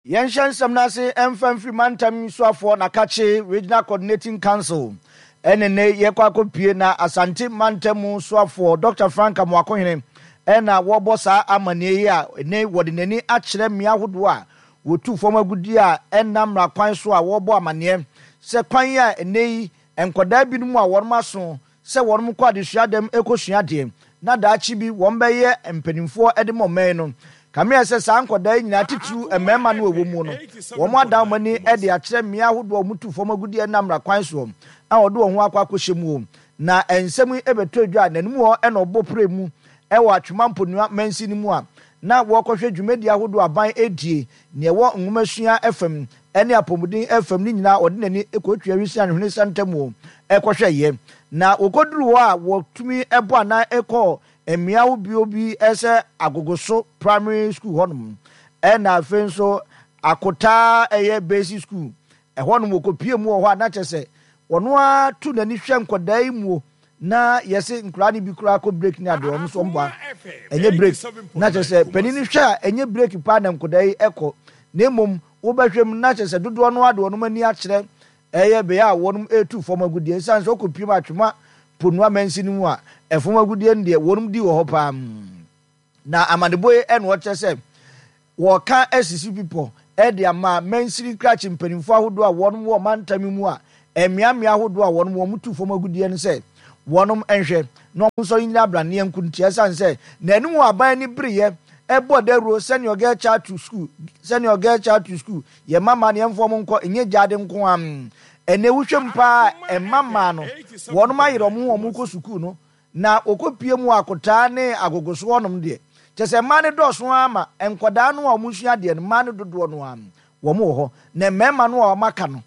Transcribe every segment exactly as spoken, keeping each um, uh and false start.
Yɛnhyɛ nsɛm no ase mfa mfiri mantam soafoɔ Nakakye Regional Coordinating Council ɛne ne yɛkɔ akɔpie na Asante mantam mu soafoɔ Doctor Frank Amoakohene ɛna wɔbɔ saa amanneɛ yi a ɛnɛ wɔde n'ani akyerɛ mmea ahodoɔ a wɔtu fam agudeɛ a ɛnam mmara kwan so a wɔbɔ amanneɛ sɛ kwan a ɛnɛ yi nkwadaa binom a wɔn aso sɛ wɔn kɔ adesua dɛm kɔsua adeɛ na daakye bi wɔn bɛyɛ mpanimfoɔ de ma ɔman no. Kamea sɛ saa nkwadaa yi nyinaa, titiriw mmarima no a ɛwɔ mu no, wɔn adan wɔn ani de akyerɛ mmea ahodoɔ a wɔtu fam agudeɛ nam mmara kwan soɔ a wɔde wɔn ho akɔ akɔhyɛ mu. Na nsɛm yi bɛtɔ dwa a n'anim hɔ na ɔbɔ pere mu wɔ Atwima Mponua mansin mu a na wɔrekɔhwɛ dwumadi ahodoɔ aban redie, nea ɛwɔ nwomasua fam ne apɔmuden fam ne nyinaa ɔde n'ani kɔtua Wisia ne Hwene Santamu kɔhwɛeɛ. Na wɔkɔduruu hɔ a wɔtumi bɔ anan kɔɔ mmea ahodoɔ bi sɛ Agogoso Primary School hɔnom, ɛna afei nso Akotaa ɛyɛ Basic School ɛhɔnom wɔkɔpie mu wɔ hɔ a na kyerɛ sɛ wɔn ara to n'ani hwɛ nkwadaa yi muo na yɛse nkwadaa no bi koraa kɔ break ne adeɛ, wɔn nso wɔn bɔ a ɛnyɛ break na kyerɛ sɛ panin no hwɛ a ɛnyɛ break paa na nkwadaa yi kɔ, na mmom wobɛhwɛ mu na kyerɛ sɛ dodoɔ no ara de wɔn ani akyerɛ ɛyɛ bea a wɔn retu fam agudeɛ. Esiane sɛ wɔkɔpiem Atwema Ponua mansin no mu a, ɛfam agudeɛ no deɛ wɔn di wɔ hɔ paa. Na amanebɔ yi na wɔkyerɛ sɛ wɔka asisi bepɔ de ama mansini krakye mpanimfoɔ ahodoɔ a wɔn wɔ mantam yi mu a mmeammea ahodoɔ a wɔn wɔn tu fam agudeɛ no sɛ wɔn nhwɛ na wɔn nsɔre nnyina abraneɛ nko ntia, esiane sɛ n'anim wɔ aban ani bereɛ ɛbɔ dawuro send your girl child to school, send your girl child to school, yɛ mma mmaa no yɛmfa wɔn nkɔ, ɛnyɛ gyaade nko ara. Ɛnɛ wohwɛ mu paa mma mmaa no wɔn ayerɛ wɔn ho wɔn kɔ sukuu no na wɔkɔpie mu akotaa ne agogoso hɔnom deɛ kyɛ sɛ mmaa no dɔɔso ara ma nkwadaa no a wɔsua adeɛ no mmaa no dodoɔ no ara wɔn wɔ hɔ, na mmarima no a wɔaka no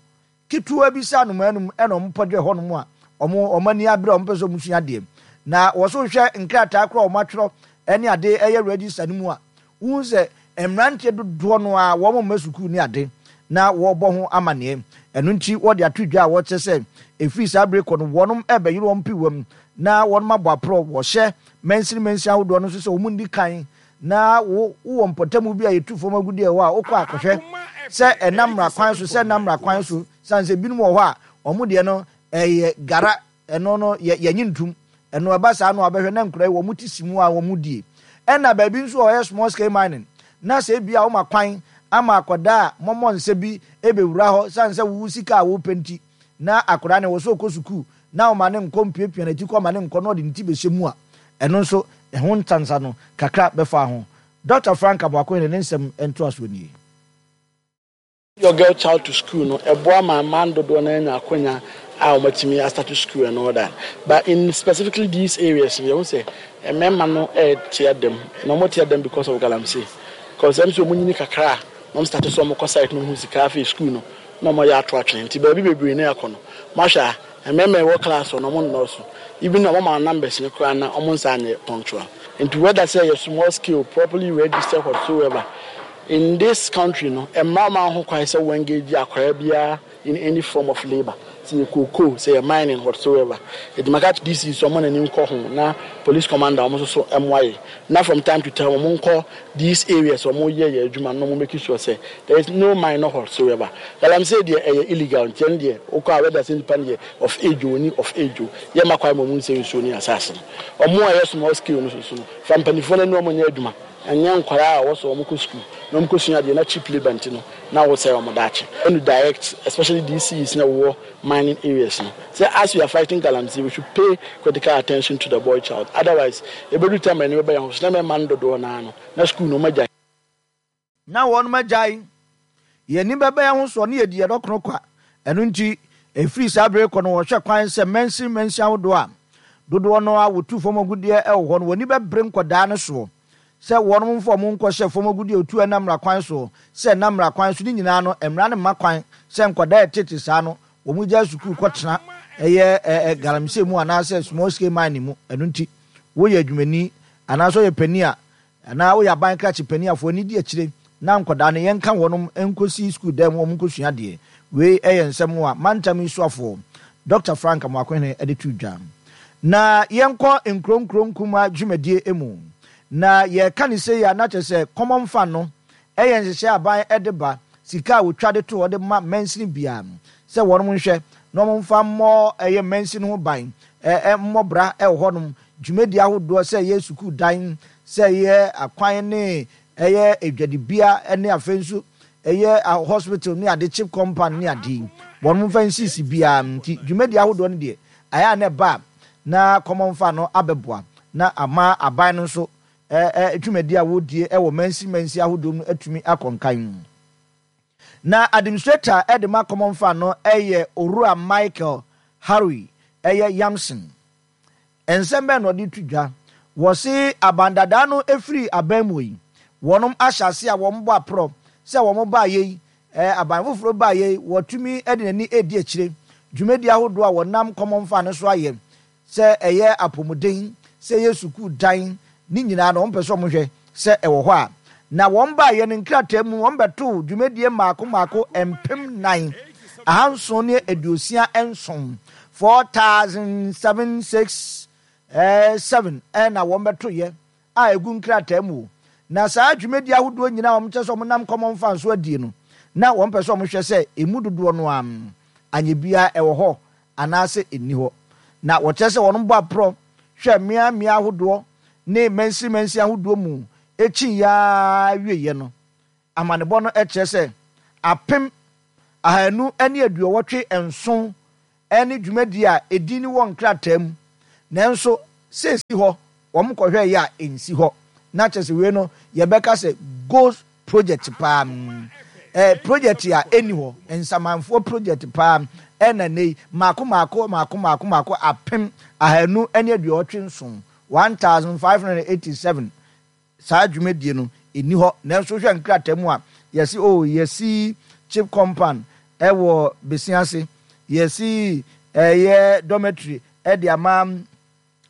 ketewa bi sɛ anomaa num ɛna wɔn pɔdwe hɔnom a wɔn wɔn ani abere a wɔn pɛ sɛ wɔn sua adeɛ. Na wɔso hwɛ nkrataa koraa a wɔn atwerɛ ɛne ade ɛyɛ register no mu a, wohu sɛ mmeranteɛ dodoɔ no a wɔn mma sukuu ne ade na wɔrebɔ ho amanneɛ. Ɛno nti wɔde ato dwa a wɔkyerɛ sɛ ɛfiri saa bere kɔ no wɔnom ɛrebɛyere wɔn piwam na wɔnom abɔ aporɔ. Wɔhyɛ mansini mansini ahodoɔ no nso sɛ wɔn nni kan na wo wowɔ mpɔtamu bi a yɛtu fam agudeɛ wɔ hɔ a wokɔ akɔhwɛ sɛ ɛnam mmara kwan so sɛ ɛnam mmara kwan so, sane sɛ binom wɔ hɔ a wɔn deɛ no ɛyɛ gara, ɛno no yɛ yɛnye ntum. Ɛno ɛba saa no a wobɛhwɛ na nkura yi wɔn ti si mu a wɔn die. Ɛna baabi nso a ɔyɛ small scale mining na sɛ ebi a woma kwan ama akwadaa a mɔmɔ nsa bi ebewura hɔ sane sɛ wo sika a wopɛ nti na akwadaa no wɔ sɛ ɔkɔ sukuu na woma ne nkɔ mpiapia n'akyi kɔ ma ne nkɔ na ɔde ne ti bɛhyɛ mu a, ɛno nso ɛho nsansa no kakra bɛfa ho. Doctor Frank Amoakohene ne nsɛm ntoasoɔ nie. Your girl child to school no ɛboa ma mmaa dodoɔ no anya akwanya a wɔatumi astart school and all that, but in specifically these areas no yɛhu sɛ mmarima no ɛte adam na wɔte adam because of galamsey, because ɛm sɛ wɔn nyini kakra a na wɔn start so wɔn kɔ site no ho sika afei school no na wɔn yɛ ato atwene. Nti baabi bebree na ɛkɔ no mahwɛ a mmarima ɛwɔ class no wɔn nnɔɔso, even na wɔn ma numbers no koraa na wɔn nsa anyɛ punctual. Nti whether sɛ yɛ small scale, properly registered, whatsoever, in this country no mmaa ma ho kwan sɛ wɔn engage akwaraa biara in any form of labour, sɛ yɛ cocoa, sɛ yɛ mining, whatsoever. Eti maka D C so ɔmo n'ani nkɔ ho na police commander ɔmo nso so ɛmoa yɛ na from time to time ɔmo nkɔ these areas ɔmo yɛ yɛ adwuma na ɔmo make sure sɛ there is no minor whatsoever. Galamsey deɛ ɛyɛ illegal, nti ɛno deɛ wokɔ a whether sɛ nipa no yɛ of age o ni of age o, yɛ ma kwan ma ɔmo nsɛ nsuo ne asase no. Ɔmo a ɛyɛ small scale no soso no fa mpanimfoɔ no ani ɔmo nyɛ adwuma, ɛnyɛ nkwaraa a wɔsɔ wɔn kɔ sukuu na wɔn kɔ sua adeɛ na cheap labour nti no na wɔsɛe wɔn daakye. Ɛnu direct especially D C Es na wɔwɔ mining areas no sɛ as we are fighting galamsey, we should pay critical attention to the boy child, otherwise ebedu time a ɛni bɛbɛ yɛn ho so na mɛma no dodoɔ naa no na sukuu no wɔn agyae. Na wɔnom agyae yɛn ani bɛbɛ yɛn ho soɔ ne yɛdi yɛn dɔkono kwa. Ɛno nti ɛfiri saa bere kɔ no wɔhwɛ kwan sɛ mansin mansin ahodoɔ a dodoɔ no a wɔtu fam agudeɛ wɔ hɔ no wɔn ani bɛbere nkɔdaa no soɔ sɛ wɔnom mfa wɔn nkɔhyɛ fam agudeɛ otu ɛnam mmara kwan soɔ sɛ ɛnam mmara kwan so ne nyinaa no mmara no mma kwan sɛ nkɔdaa ɛtete saa no wɔn gya sukuu kɔtena ɛyɛ ɛɛ galamsey mu anaasɛ small scale mining mu. Ɛno nti woyɛ adwumani anaasɛ ɔyɛ panin a anaa woyɛ aban krakye panin afoɔ ani di akyire na nkɔdaa no yɛnka wɔnom nkɔsi sukuu dan mu wɔn nkɔsua adeɛ. Wei ɛyɛ nsɛm a mantam yi soafoɔ Doctor Frank Amoakohene de to dwa. Na yɛnkɔ nkuro nkuro nkuma dwumadie mu na yɛka ne sei a na kyerɛ sɛ common fund no Ɛyɛ nhyehyɛe a aban de ba, sika a wɔtwa de to hɔ de ma mansini biara no, sɛ wɔnom nhwɛ na wɔmfa mmɔ ɛyɛ mansini ho ban, mmɔ bra wɔ hɔnom, dwumadi ahodoɔ sɛ ɛyɛ sukuu dan, sɛ ɛyɛ akwan ne ɛyɛ adwadibea ne afei nso ɛyɛ hospital ne ade, chip compound ne ade yi, wɔnom mfa nsisi biara. Nti dwumadi ahodoɔ no deɛ, ayɛ a na ɛba a na Common Fund no abɛboa na ama aban no nso dwumadi a wɔredie wɔ mansi mansi ahodoɔ mu atumi akɔ nkan. Na administrator de ma Common Fund no yɛ Owura Michael Harry ɛyɛ Yamson. Nsɛm bɛn na ɔde to dwa? Wɔse aban dadaa no firi aban mu yi, wɔnom ahyɛ ase a wɔn bɔ aporɔ sɛ wɔn baayɛ yi, aban foforɔ baayɛ yi, wɔtumi de n'ani redi akyire dwumadi ahodoɔ a wɔnam Common Fund no so ayɛ, sɛ ɛyɛ apɔmuden, sɛ ɛyɛ sukuu dan, ne nyinaa no wɔn pɛ sɛ wɔn hwɛ sɛ ɛwɔ hɔ a. Na wɔn baayɛ no nkrataa mu wɔn bɛtoo dwumadie mmaako mmaako mpem nan ahanson ne aduosia nson, four thousand seven six seven, ɛna wɔn bɛtoyɛ a ɛgu nkrataa mu. Na saa dwumadie ahodoɔ nyinaa wɔn kyɛ sɛ wɔn nam Common Fund so adie no, na wɔn pɛ sɛ wɔn hwɛ sɛ emu dodoɔ no ara anyɛ biara ɛwɔ hɔ anaasɛ ɛnni hɔ. Na wɔkyerɛ sɛ wɔn bɔ aporɔ hwɛ mmea mmea ahodoɔ ne mansi mansi ahodoɔ mu ekyi yaa wieɛ no, amanebɔ no kyerɛ sɛ apem ahanu ne aduɔwɔtwe nson ne dwumadie a edin no wɔ nkrataa mu, nanso sɛ esi hɔ wɔn kɔhwɛ yɛ a ɛnsi hɔ. Na kyerɛ sɛ wei no yɛbɛka sɛ ghost project paa, eh, project a ɛnni hɔ, nsamanfoɔ project paa ɛna ne yi mako mako mako mako mako apem ahanu ne aduɔwɔtwe nson, one thousand five hundred eighty seven, saa dwumadie no ɛnni hɔ. Nanso hwɛ nkrataa mu a yɛsi oh yɛsi chip compound ɛwɔ Besiase, yɛsi ɛyɛ dormitory ɛde ama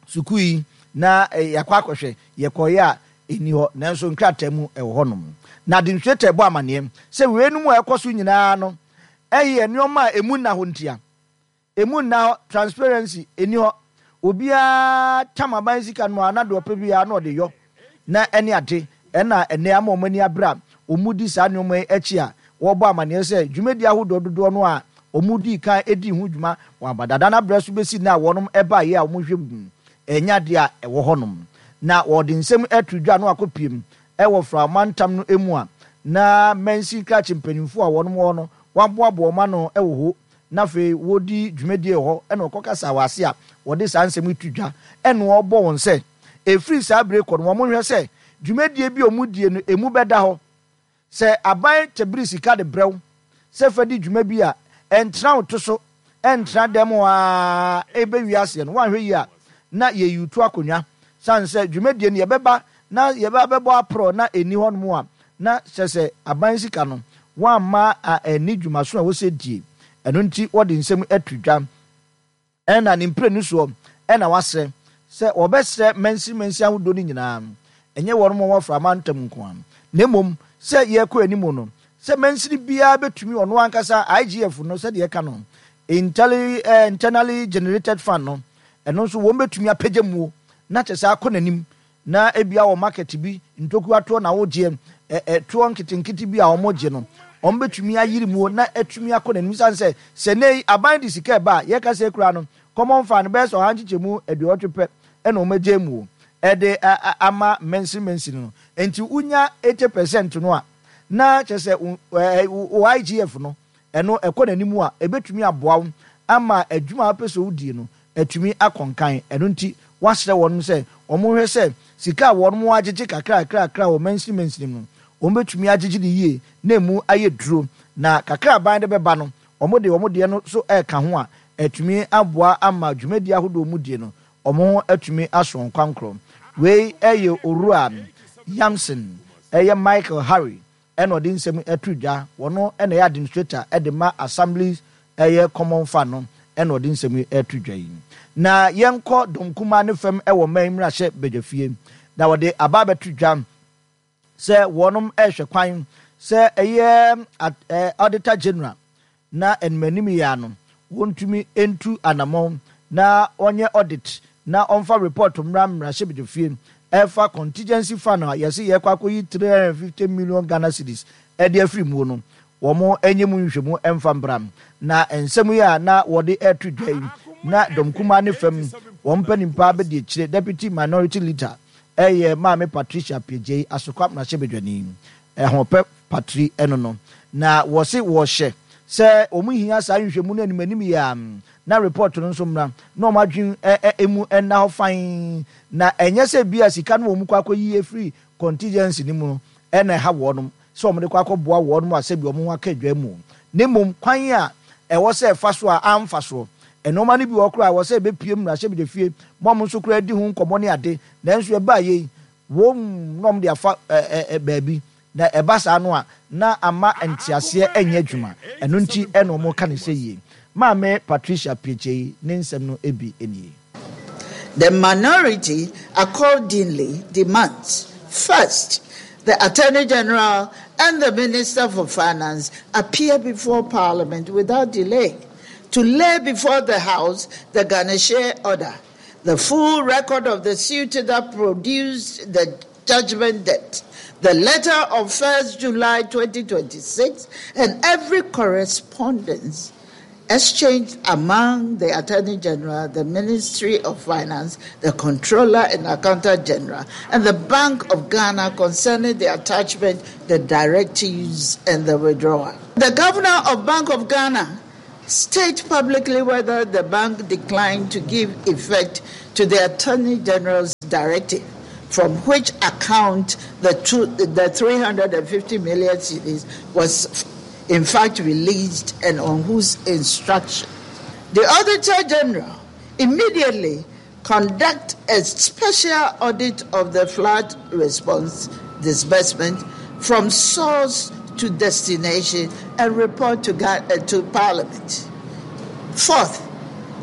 sukuu yi, na yɛakɔ akɔhwɛ, yɛkɔyɛ a ɛnni hɔ, nanso nkrataa mu ɛwɔ hɔnom. Na administrator bɔ amaneɛ sɛ weinom a ɛkɔ so nyinaa no ɛyɛ nneɛma a emu nna hɔ ntia, emu nna hɔ, transparency ɛni hɔ. Obiara tam aban sika no a na deɛ ɔpɛ biara na ɔde yɔ na ɛne ade. Ɛna ɛnɛ ama wɔn ani abere a wɔn di saa nneɛma yi akyi a wɔrebɔ amaneɛ sɛ dwumadi ahodoɔ dodoɔ no a wɔn di kan di ho dwuma wɔn abadada no abrɛ so bɛsi na wɔn ɛbaeɛ a wɔn hwɛ mu ɛnyɛ adeɛ a ɛwɔ hɔnom. Na wɔde nsɛm ɛto dwa no akɔpiem ɛwɔ Framantam no mu a na mansi krakye mpanimfoɔ a wɔn wɔ no wɔaboaboa wɔn ano ɛwɔ hɔ, na afei wɔdi dwumadie wɔ hɔ, ɛna ɔkɔkasa wɔ ase a wɔde saa nsɛm yi to dwa, ɛna ɔbɔ wɔn sɛ ɛfiri saa bere kɔ no wɔn hwɛ sɛ dwumadie bi a wɔn die no emu bɛda hɔ. Sɛ aban tɛbiri sika de brɛw sɛ fa di dwuma bi a, ɛntena wo to so, ɛntena dɛm hɔ a ɛbɛwie aseɛ no, woanhwɛ yie a na yɛyi to akonnwa, sane sɛ dwumadie no yɛbɛba na yɛbɛ bɛbɔ aporɔ na ɛnni hɔnom a, na kyerɛ sɛ aban sika no woamma ɛnni dwumaso a wɔsɛ die. Ɛno nti wɔde nsɛm ato dwa, ɛna ne mprenu soɔ ɛna wasrɛ sɛ wɔbɛsrɛ mansi mansi ahodoɔ no nyinaa, ɛnyɛ wɔn mo wɔfra amantam nko a, na mmom sɛ yɛkɔ anim no sɛ mansini biara bɛtumi ɔno ankasa I G F no sɛdeɛ ɛka no internally generated fund no, ɛno nso wɔn bɛtumi apagya muo na kyerɛ sɛ akɔ n'anim, na ebia wɔ market bi ntokuwa toɔ na wogyeɛ ɛtoɔ nketenkete bi a wɔn gye no, wɔn bɛtumi ayiri muo na atumi akɔ n'anim. Sane sɛ sɛ ne yi aban de sika ɛba a yɛka sɛ ekura no Common Fund bɛyɛ sɛ ɔha nkyekyɛmu aduɔwɔtwe pɛ ɛna wɔn agye muo ɛde ama mansin mansin no, nti wonya eighty percent no a na kyerɛ sɛ wo I G F no ɛno ɛkɔ n'anim a ɛbɛtumi aboa wo ama adwuma a wopɛ sɛ wodie no atumi akɔ nkan. Ɛno nti wasrɛ wɔn sɛ wɔn hwɛ sɛ sika a wɔn agyegye kakra kakra kakra wɔ mansini mansini mu wɔn bɛtumi agyegye ne yie na emu ayɛ duro, na kakra aban de bɛba no wɔn de wɔn deɛ no so ɛka ho a atumi aboa ama dwumadi ahodoɔ mu die no wɔn ho atumi aso nkwankorɔ. Wei ɛyɛ Owura Yamson ɛyɛ Michael Harry ɛna ɔde nsɛm ɛto dwa. Wɔn ɛna ɛyɛ administrator ɛde ma Assembly ɛyɛ Common Fund no ɛna ɔde nsɛm ɛto dwa yi. Na yɛnkɔ dɔm kumaa ne fam ɛwɔ mman mmarahyɛ badwafie, na wɔde aba abɛto dwa sɛ wɔnom ɛrehwɛ kwan sɛ ɛyɛ Auditor General na animanim yɛ ano wɔntumi ntu anammɔn na wɔnyɛ audit na ɔmfa report mmra mmarahyɛ badwafie ɛfa contingency fund a yɛse yɛkɔ akɔyi three hundred and fifty million Ghana cedis ɛde afiri muo no, wɔn nyɛ mu nhwehwɛmu mfa mbra. Na nsɛm yi a na wɔde ɛreto dwa yi, na dɔm kumaa ne fam wɔn mpanimpa bɛdi akyire, Deputy Minority Leader ɛyɛ Maame Patricia Appiagyei, Asokwa mmarahyɛbadwani, Ahoɔpɛ Patri ɛno no, na wɔse wɔhyɛ sɛ wɔn hia saa nhwehwɛmu no anim anim yi a, na report no nso mmra na wɔn adwene emu nna hɔ fann, na ɛnyɛ sɛ bi a sika no wɔn kɔ akɔyi afiri contingency no mu no ɛna ɛha wɔnom sɛ wɔde kɔ akɔboa wɔnom a sɛbi wɔn ho aka adwa mu, na mmom kwan a ɛwɔ sɛ ɛfa so a amfa soɔ. Nnoɔma no bi wɔ hɔ koraa a ɛwɔ sɛ ɛbɛpue mmarahyɛbadwafie ma wɔn nso koraa di ho nkɔmmɔ ne ade, nanso ɛbaa yei, wɔn na wɔde afa baabi, na ɛba saa no a, na ama nteaseɛ nyɛ adwuma. Ɛno nti na wɔka no sɛ yie. Maame Patricia Appiagyei ne nsɛm no bi nie. The minority accordingly demands, first, the Attorney General and the Minister for Finance appear before Parliament without delay to lay before the House the garnishee order, the full record of the suit that produced the judgment debt, the letter of first July twenty twenty-six, and every correspondence exchanged among the Attorney General, the Ministry of Finance, the Controller and Accountant General, and the Bank of Ghana concerning the attachment, the directives, and the withdrawal. The Governor of Bank of Ghana state publicly whether the bank declined to give effect to the Attorney General's directive, from which account the, two, the three hundred and fifty million cedis was in fact released and on whose instruction. The Auditor General immediately conduct a special audit of the flood response disbursement from source to destination and report to, uh, to Parliament. Fourth,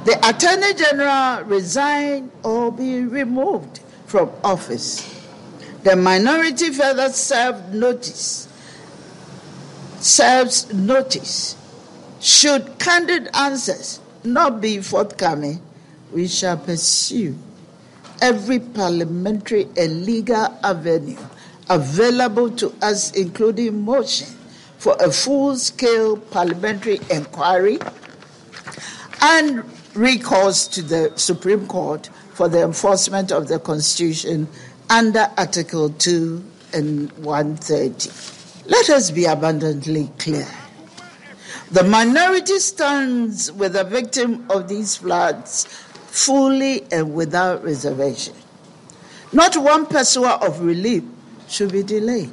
the Attorney General resign or be removed from office. The minority further served notice, serves notice. Should candid answers not be forthcoming, we shall pursue every parliamentary and legal avenue available to us, including motion for a full-scale parliamentary inquiry and recourse to the Supreme Court for the enforcement of the Constitution under Article two and one thirty. Let us be abundantly clear. The minority stands with the victim of these floods fully and without reservation. Not one pesewa of relief should be delayed.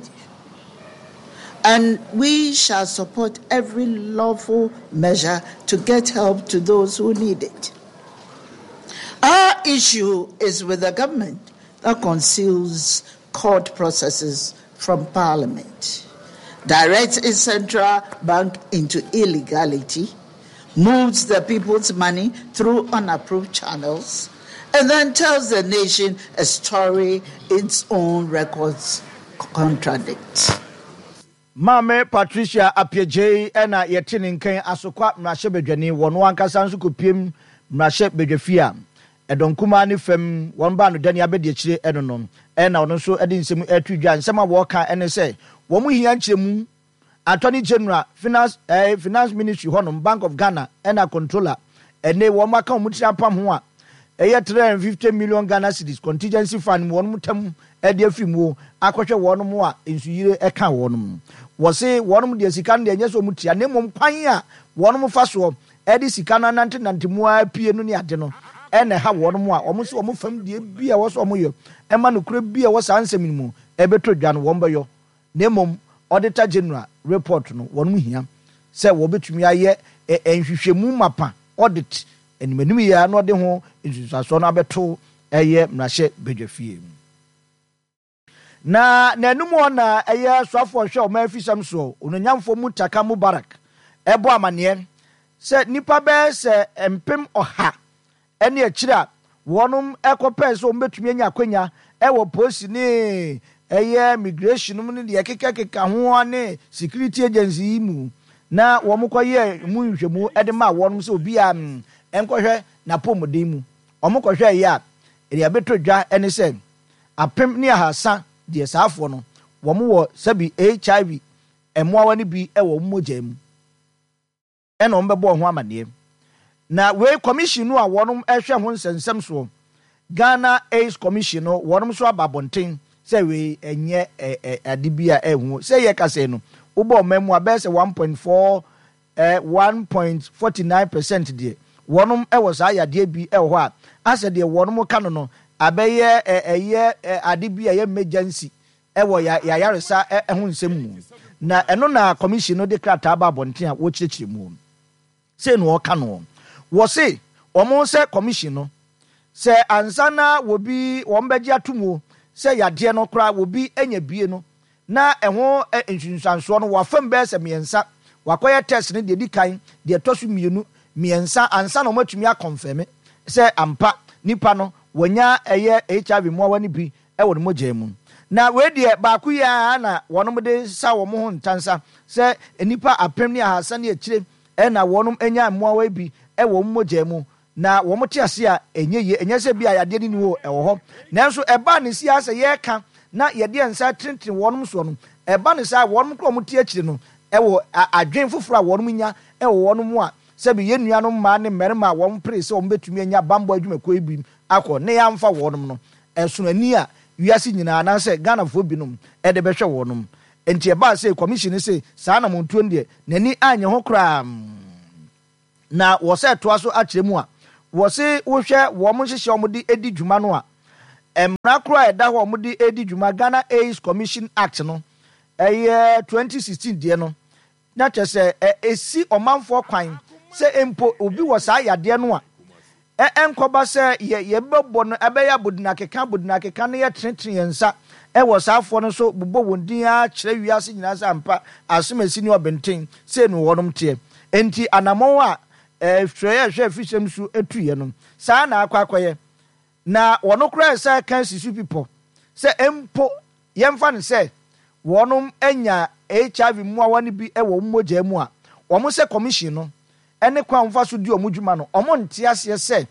And we shall support every lawful measure to get help to those who need it. Our issue is with the government that conceals court processes from Parliament, directs its central bank into illegality, moves the people's money through unapproved channels, and then tells the nation a story its own records contradict. Maame Patricia Appiagyei na yɛte ne nkan Asokwa mmarahyɛbadwani wɔ no ankasa nso kɔpiem mmarahyɛbadwafie a ɛdɔm kumaa ne fam wɔn baa no dani abɛdi akyire ɛno no ɛna ɔno nso de nsɛm ɛto dwa. Nsɛm a wɔreka ɛne sɛ wɔn hia nkyerɛmu Attorney General, Finance, eh, Finance Ministry hɔnom, Bank of Ghana ɛna Controller ɛne wɔn aka wɔn tiri apam ho a ɛyɛ three hundred fifty million Ghana cedis contingency fund mu wɔn tam ɛde afiri mu akɔhwɛ wɔn mu a nsuyire ɛka wɔn mu. Wɔse wɔn deɛ sika no deɛ ɛnyɛ sɛ wɔn tua, na mmom kwan a wɔn fa soɔ ɛde sika no anantenante mu a pie no ne ade no ɛna ɛha wɔn mu a wɔn nso wɔn fam deɛ bi a ɛwɔ so wɔn yɛ ɛma nokorɛ bi a ɛwɔ saa nsɛm no mu ɛbɛtɔ dwa no wɔn bɛyɔ, na mmom Auditor General report no wɔn hia sɛ wɔbɛtumi ayɛ nhwehwɛmu mapa audit animanim yie a na ɔde ho nsunsuansoɔ no abɛto ɛyɛ mmarahyɛ badwafie. Na n'anum hɔ na ɛyɛ soafoɔ hwɛ ɔman afisɛm soɔ ononyamfoɔ Muntaka Mubarak ɛbɔ amaneɛ sɛ nnipa bɛyɛ sɛ mpem ɔha ɛne akyire a wɔnom ɛkɔpɛɛ sɛ wɔn bɛtumi anya akwanya ɛwɔ polisi ne ɛyɛ migration mu ne deɛ kekakeka ho ne security agency yi mu na wɔn kɔyɛ mu nhwehwɛmu ɛde ma wɔnom sɛ obiara nkɔhwɛ n'apɔmuden mu. Wɔn kɔhwɛ yɛ a deɛ ɛbɛtɔ dwa ɛne sɛ apem ne ahasa deɛ saafoɔ no wɔn wɔ sɛbi H I V mmoawa no bi wɔ wɔn mogya mu, ɛna wɔn bɛbɔ ho amaneɛ. Na wei, commission no a wɔn hwɛ ho nsɛnsɛm soɔ, Ghana AIDS Commission no, wɔn nso aba abɔnten sɛ wei ɛnyɛ ɛ ɛ ade bi a ɛho sɛ yɛ kasa no wobɔ ɔman mu a, bɛyɛ sɛ one point four ɛ one point forty nine percent deɛ, wɔn wɔ saa yadeɛ bi wɔ hɔ a asɛ deɛ wɔn ka no no abɛyɛ ɛ ɛyɛ ɛ ade bi a ɛyɛ emergency ɛwɔ ya yayaresa ɛho nsɛm mu. Na ɛno na commission no de krataa ba abɔnten a wɔkyerɛkyerɛ mu sei na wɔka no. Wɔse wɔn sɛ commission no, sɛ ansa na wɔbi wɔn bɛgye ato mu sɛ yadeɛ no koraa wɔbi anya bie no, na ɛho nsunsuansoɔ no wafam bɛyɛ sɛ mmiɛnsa. Wakɔyɛ test no deɛ di kan, deɛ ɛtɔ so mmienu, mmiɛnsa ansa na wɔatumi akɔnfɛmi sɛ ampa nipa no wɔnya ɛyɛ H I V mmoawa no bi ɛwɔ ne mogya mu. Na wei deɛ, baako yi ara na wɔn de sa wɔn ho ntansa sɛ nipa apem ne ahasa ne akyire ɛna wɔn anya mmoawa yi bi ɛwɔ wɔn mogya mu na wɔn te ase a ɛnyɛ yie. Ɛnyɛ sɛ bi a yadeɛ no ni hɔ, ɛwɔ hɔ, nanso ɛbaa ne si asɛ yɛreka na yɛde nsa tenetene wɔn soɔ no, ɛba ne saa, wɔn kora wɔn te akyire no ɛwɔ adwen foforɔ a wɔn nya ɛwɔ wɔn mu a sɛbi yɛn nuanom mmaa ne mmarima a wɔn pere sɛ wɔn bɛtumi anya bambɔ adwumakuo yi bi akɔ ne yɛamfa wɔn no, ɛsono ani a wiase nyinaa anaasɛ Ghanafoɔ binom ɛde bɛhwɛ wɔn. Nti ɛbaa sɛ commission sɛ saa na montuo no deɛ, n'ani anyɛ ho koraa. Na wɔsɛ toa so akyerɛ mu a, wɔse wohwɛ wɔn nhyehyɛ wɔn de edi dwuma no a, mmara koro a ɛda hɔ a wɔn de edi dwuma, Ghana AIDS Commission Act no, ɛyɛ twenty sixteen deɛ no, na kyerɛ sɛ ɛ esi ɔmanfoɔ kwan sɛ mpo obi wɔ saa yadeɛ no a, ɛ ɛnkɔba sɛ yɛ yɛbɛbɔ no, ɛbɛyɛ abodinakeka abodinakeka no, yɛtenetene yɛn nsa ɛwɔ saafoɔ no so, bobɔ wɔn din akyerɛ wiase nyinaa sɛ ampa asomasi ne ɔbɛnten sei no wɔnom teɛ. Nti anammɔn a ɛhwɛ ɛhwɛ afisɛm so etuiɛ no, saa na akɔ akɔyɛ. Na wɔn koraa sɛ kan sisi pipɔ sɛ mpo yɛmfa no sɛ wɔnom anya H I V mmoawa no bi wɔ wɔn mogya mu a, wɔn sɛ commission no ɛne kwan wɔfa so di wɔn dwuma no, wɔn nte aseɛ sɛ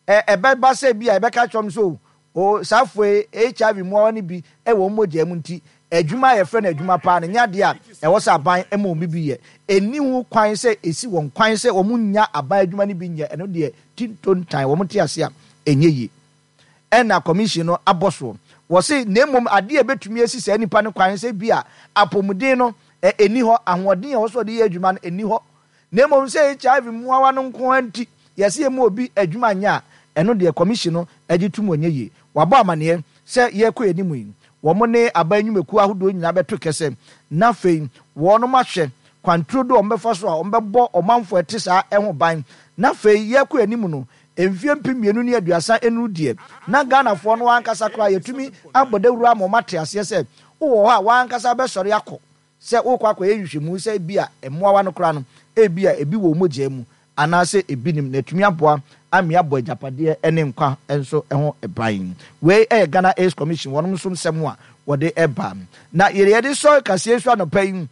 ɛ ɛbɛba sɛ bi a ɛbɛka kyerɛ wɔn so o, saa afɔ yi H I V mmoawa no bi wɔ wɔn mogya mu, nti adwuma a yɛfrɛ no adwuma paa no nyɛ adeɛ a ɛwɔ sɛ aban ma wɔn bi yɛ. Ɛni ho kwan sɛ esi wɔn kwan sɛ wɔn nya aban adwuma no bi nyɛ. Ɛno deɛ, tintontan wɔn te ase a ɛnyɛ yie. Ɛna commission no abɔ soɔ, wɔsi na mmom adeɛ a ebetumi esi saa nipa no kwan sɛ bi a apɔmuden no ɛ ɛni hɔ, ahoɔden a wɔsɔ de yɛ adwuma no ɛni hɔ, na mmom sɛ H I V mmoawa no nko ara nti yɛsi emu obi adwuma nyɛ a, ɛno deɛ commission no agye tum wɔnyɛ yie. Wabɔ amaneɛ sɛ yɛrekɔ anim yi, wɔn ne aban nnwumakuo ahodoɔ nyinaa bɛto kɛsɛ na afei wɔn ahwɛ kwanturo do a wɔbɛfa so a wɔbɛbɔ ɔmanfoɔ ɛte saa ɛho ban. Na afei yɛrekɔ anim no, mfie mpem mmienu ne aduasa enuru deɛ, na Ghanafoɔ no ankasa koraa yɛtumi abɔ dawuro ama wɔn ate aseɛ sɛ wowɔ hɔ a, wɔankasa bɛsɔre akɔ sɛ wokɔ akɔyɛ nhwehwɛmu sɛ ebi a mmoawa no koraa no ebi a ebi wɔ mogya mu anaasɛ ebi nim, na etumi aboa ame abɔ agyapadeɛ ne nkwa nso ho ban. Wei yɛ Ghana AIDS Commission wɔn nso nsɛm a wɔde ɛba. Na yɛde yɛde sɔ kaseɛ so anɔpa yi,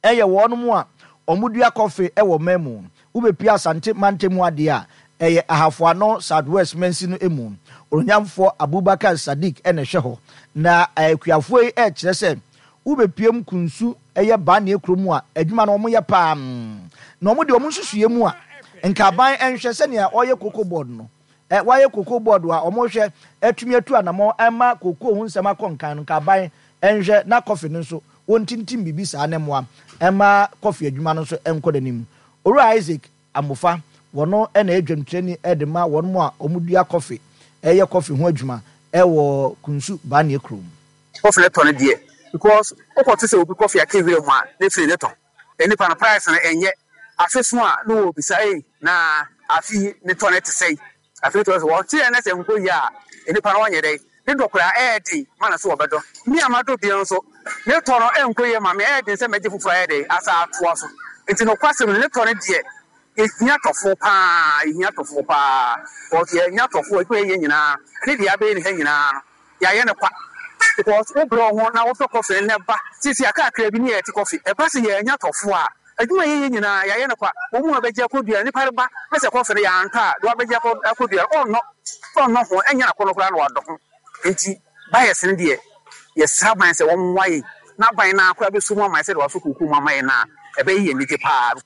ɛyɛ wɔn mu a wɔn dua kɔfe wɔ man mu. Wobɛpia Asante mantam mu adeɛ a, ɛyɛ Ahafoano South West mansi no mu, Onyamfoɔ Abubakar Sadiq ɛna ɛhwɛ hɔ. Na akuafoɔ yi ɛrekyerɛ sɛ wobɛpie mu Kunsu, ɛyɛ Baneɛ kurom a, adwuma no wɔyɛ paa, na wɔn de wɔn nsusuiɛ mu a, nkaban nhwɛ sɛnea ɔyɛ Cocoa Board no, ɛ wayɛ Cocoa Board a wɔhwɛ atumi atu anamɔ ɛma cocoa ho nsɛm akɔ nkan no, nkaban nhwɛ na kɔfe no nso wɔntintim biribi saa ne mmoa ɛma kɔfe adwuma no nso nkɔ n'anim. Owura Isaac Amofa, wɔno ɛna adwamtirani ɛde ma wɔn mu a wɔn dua kɔfe, ɛyɛ kɔfe ho adwuma ɛwɔ Kunsu Baneɛ kurom. Kɔfe no tɔ no deɛ, because wokɔto sɛ obi kɔfe aka wura mu a, ne firi ne tɔ nipa no price no ɛnyɛ afe so a na wɔbisa ei, na afe yi ne tɔ no te sɛn? Afe tɔ sɛ wɔte yɛ ne sɛ nkɔ yie a, nipa no wɔnyɛ dɛn ne dɔ koraa ɛyɛ den ma no so wɔbɛdɔ me a madɔ bia nso ne tɔ no ɛnkɔ yie ma me, ɛyɛ den sɛ mɛgye foforɔ ayɛ dɛn asa atoa so. Nti nokwasɛm no, ne tɔ no deɛ, yɛhia tɔfoɔ paa, yɛhia tɔfoɔ paa, because yɛnya tɔfoɔ adwuma yɛyɛ nyinaa ne deɛ abɛyɛ ne ha nyinaa no, yɛayɛ no kwa, because wobrɛ wo ho na wotɔ kɔfe no ba sisi akakra bi ne yɛte kɔfe ɛba sɛ yɛanya tɔfoɔ a, adwuma yɛyɛ nyinaa yɛayɛ no kwa. Wɔn mu a bɛgye akɔdua, nipa no ba na sɛ kɔfe no yɛantɔ a, de wabɛgye akɔdua no, ɔnnɔ ɔnnɔ ho, ɛnyɛ akɔnɔ koraa na wadɔ ho. Nti Buyers no deɛ, yɛsrɛ aban sɛ wɔmmoa yɛn na aban no ara koraa bɛso mu ama yɛn sɛdeɛ wɔaso kookoo mu ama yɛn no a, ɛbɛyɛ yɛn anigye pa ara.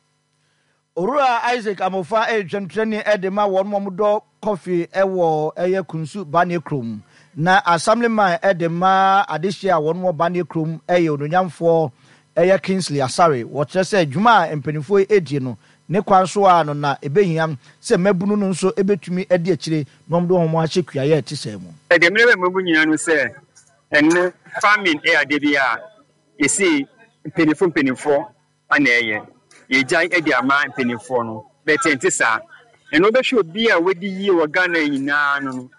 Owura Isaac Amofa yɛ dwamtirani de ma wɔn a wɔdɔ kɔfe wɔ ɛyɛ Kunsu Banie kurom. Na Assemblyman de ma adehyeɛ a wɔn wɔ Banie kurom yɛ Onuonyamfoɔ ɛyɛ Kingsley Asare. Wɔkyerɛ sɛ dwuma a mpanimfoɔ yi redie no ne kwan so ara no na ɛbɛhia sɛ mmabunu no nso bɛtumi adi akyire na wɔde wɔn ho ahyɛ kuayɛ a ɛte saa mu. Deɛ mmerɛ bɛ mmabu nyinaa no sɛ ɛnnɛ farming yɛ adeɛ bi a yɛsei mpaninfoɔ mpaninfoɔ na ɛyɛ. Yɛgyae de ama mpaninfoɔ no but ɛnte saa. Ɛnna wobɛhwɛ obi a wadi yie wɔ Ghana nyinaa no no,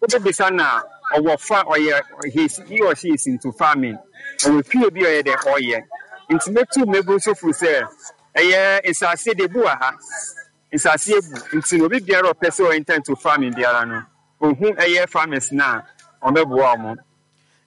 wobɛbisa no a ɔwɔ fa ɔyɛ he is he or she is into farming. Ɔwɔ fie bi a ɔyɛ dɛ ɔyɛ. Nti mɛtu mmabunu nso fo sɛ ɛyɛ nsaase de ebu wɔ ha. Nsaase abu nti no obi biara a ɔpɛ sɛ ɔ enter into farming biara no, ɔhu ɛyɛ farmers no a wɔbɛboa wɔn.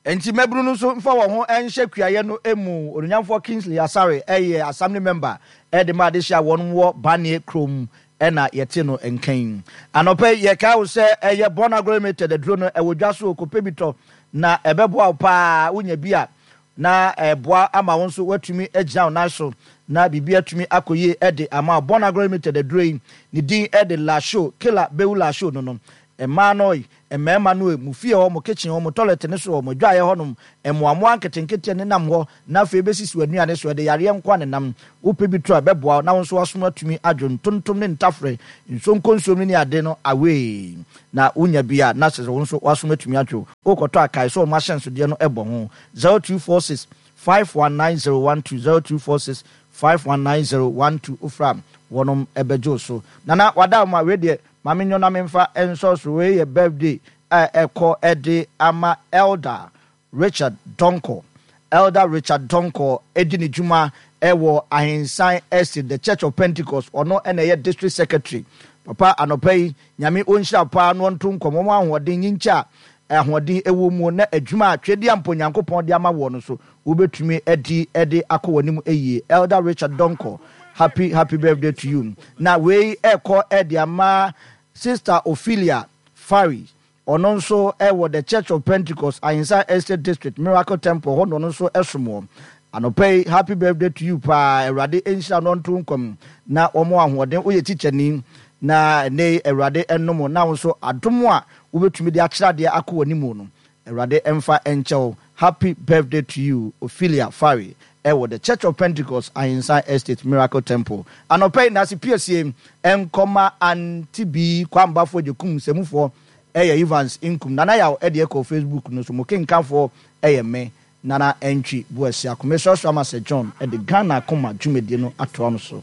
Enti mmabunu no nso mfa wɔn ho nhyɛ kuayɛ no mu. Onuonyamfoɔ Kingsley Asare yɛ Assembly Member de ma adehye a wɔn wɔ Banie kurom na yɛte no nka yi. Anɔpa yi yɛkae wo sɛ ɛyɛ Born Agro Limited aduro no ɛwɔ dwa so o, kɔpɛ bi tɔ na ɛbɛboa wo paa. Wonya bi a na ɛboa ama wo nso woatumi agyina wo nan so na biribi atumi akɔ yie de ama wo. Born Agro Limited aduro yi ne din de Lasho, Kela Bewu Lasho no no. Mmaa no Mmarima no e, mo fie hɔ, mo kitchen hɔ, mo toilet no so hɔ, mo adwaeɛ hɔnom, mmoammoa nketenkete a nenam hɔ na afei bɛsisi w'anuane so, ɛde yareɛ nko a nenam. Wopɛ bi to a, ɛbɛboa wo na wo nso w'asom atumi adwo ntontom ne ntafrɛ, nsuonkonsuom no ne ade no away. Na wonya bi a, na kyerɛ sɛ wo nso w'asom atumi adwo. Wokɔtɔ a, kae sɛ wɔn ahyɛnsodeɛ no bɔ ho, zero two four six five one nine zero one two, zero two four six five one nine zero one two, wofrɛ a, wɔnom bɛgye wo so. Nana, wada wo ma, wei deɛ, Ma me nyɔ na memfa nsɔ so wei yɛ birthday a ɛkɔ de ama Elder Richard Donkor. Elder Richard Donkor di ne dwuma wɔ Ahensan Estate, The Church of Pentecost, ɔno na ɛyɛ District Secretary. Papa anɔpa yi Nyame ɔnhyira wo paa na ɔnto nkɔm, ɔma wo ahoɔden, nyinkyɛ a ahoɔden wɔ mu na adwuma a Twedeampo Nyankopɔn de ama woɔ no so wobɛtumi adi de akɔ w'anim yie. Elder Richard Donkor, happy happy birthday to you. Na wei ɛrekɔ de ama Sister Ophelia Fari, ɔno nso wɔ The Church of Pentecost, Ahinsan Estate District, Miracle Temple hɔ na ɔno nso som wɔ. Anɔpa yi, happy birthday to you paa, Awurade nhyira no ɔnto nkwa mu na ɔmɔ ahoɔden, woyɛ tikyani na ɛnɛ yi Awurade nnom wo na wo nso adom a wobɛtumi de akyerɛ adeɛ akɔ w'anim no, Awurade mfa nkyɛ wo. Happy birthday to you Ophelia Fari ɛwɔ The Church of Pentecost Ahinsan Estate Miracle Temple. Anɔpa yi Nase Piesie nkɔma Auntie Bii Kwambafoɔ Agyekum Nsamufoɔ ɛyɛ Evans Nkum Nana Yaw ɛdeɛ kɔ Facebook no so mo kenkanfoɔ ɛyɛ me Nana Antwi Boasiako. Mesrɛsrɛ ama Sir John ɛde Ghana Akoma dwumadie no atoa mo so.